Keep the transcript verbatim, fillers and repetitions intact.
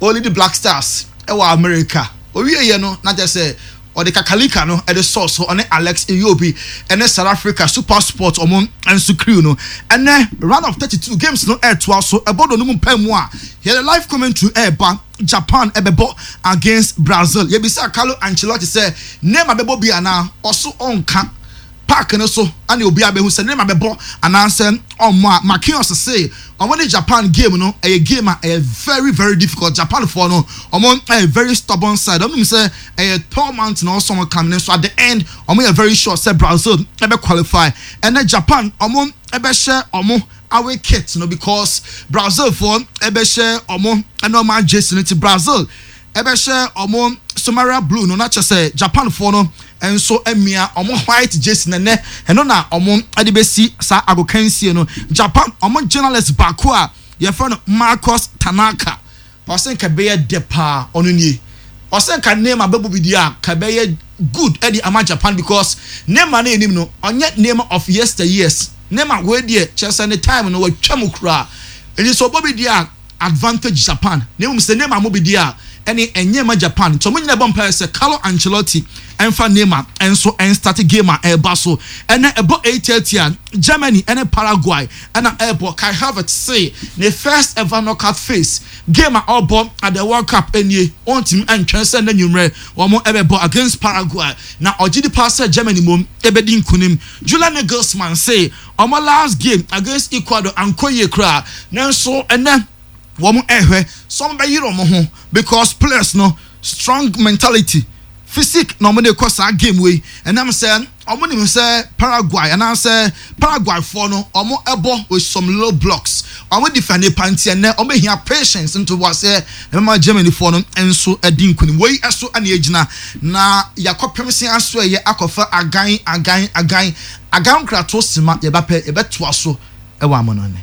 Ɔlead Black Stars ɛwɔ America owie yɛ no, na kyerɛ sɛ ɔde kakalika no ɛde sɔɔ so. Ɔne Alex Iwobi ɛne South Africa Super Sport ɔmo nso crew no. Ɛnɛ round of thirty two games no ɛɛtoa so. Ɛbɔ do no mu mpɛ mu a, yɛde live commentary ɛɛba. Japan ɛbɛbɔ against Brazil. Yɛbisa Carlo Ancelotti sɛ Neymar bɛbɔ bi anaa, ɔso ɔnka park no so ɛna obi abɛhu sɛ Neymar bɛbɔ anaasɛ ɔmo a. Marquinhos se ɔmo ne Japan game no ɛyɛ game a ɛyɛ very very difficult. Japan foɔ no, ɔmo ɛyɛ very stubborn side. Ɔmo nim sɛ ɛyɛ tall mountain na ɔsɔ ɔmo kam ne so. At the end, ɔmo yɛ very sure sɛ Brazil ɛbɛ qualify. Ɛnɛ Japan ɔmo ɛbɛhyɛ ɔmo away kit no because Brazil foɔ ɛbɛhyɛ ɔmo ɛna ɔmo agye no ti. Brazil ɛbɛhyɛ ɔmo Somaria blue no, na kyerɛ sɛ Japan foɔ no nso amia ɔmo white jersey. Nɛnɛ ɛno na ɔmo ɛde bɛsi saa agokansie no. Japan ɔmo journalist baako a yɛfrɛ no Marcus Tanaka, ɔsɛ nka bɛyɛ dɛ paa. Ɔno nie, ɔsɛ nka Neymar bɛbɔ bi di a, ka bɛyɛ good ɛde ama Japan because Neymar no anim no, ɔnyɛ Neymar of yesteryears. Neymar wei deɛ, kyerɛ sɛ ne time no wɔatwa mu koraa. Ɛnti sɛ ɔbɔ bi di a, advantage Japan. Na mmom sɛ Neymar mo bi di a, ɛne ɛnyɛ ma Japan. Nti ɔmo nyinaa bɔ mpaeɛ sɛ Carlo Ancelotti ɛnfa Neymar ɛnso ɛnstart game a ɛreba so. Ɛnɛ ɛbɔ eight thirty a, Germany ɛne Paraguay ɛna ɛrebɔ. Kai Havertz say ne first ever knockout phase game a ɔrebɔ at the World Cup ɛnie, ɔntumi ɛntwɛn sɛ ne nwummerɛ wɔn ɛbɛbɔ against Paraguay, na ɔgye di paa sɛ Germany mom ɛbɛdi nkunim. Julian Nagelsmann say ɔmo last game against Ecuador ankɔ yie koraa, nanso ɛnɛ wɔn ɛhwɛ so wɔn bɛyere wɔn ho because players no strong mentality, physique na wɔn de kɔ saa game wei. Ɛnam sɛ wɔn nim sɛ Paraguay anaasɛ Paraguay foɔ no, wɔn ɛbɔ with some low blocks, wɔn defend panti. Ɛnɛ wɔn behia patience nto wɔ sɛ ɛbɛma Germany foɔ no nso ɛdi nkunim. Wei ɛso ɛna egyina na yakɔpem se aso ɛyɛ akɔfa agan agan agan agan nkrato sima. Yɛbɛpɛ yɛbɛtoa so ɛwɔ amɔnɔne.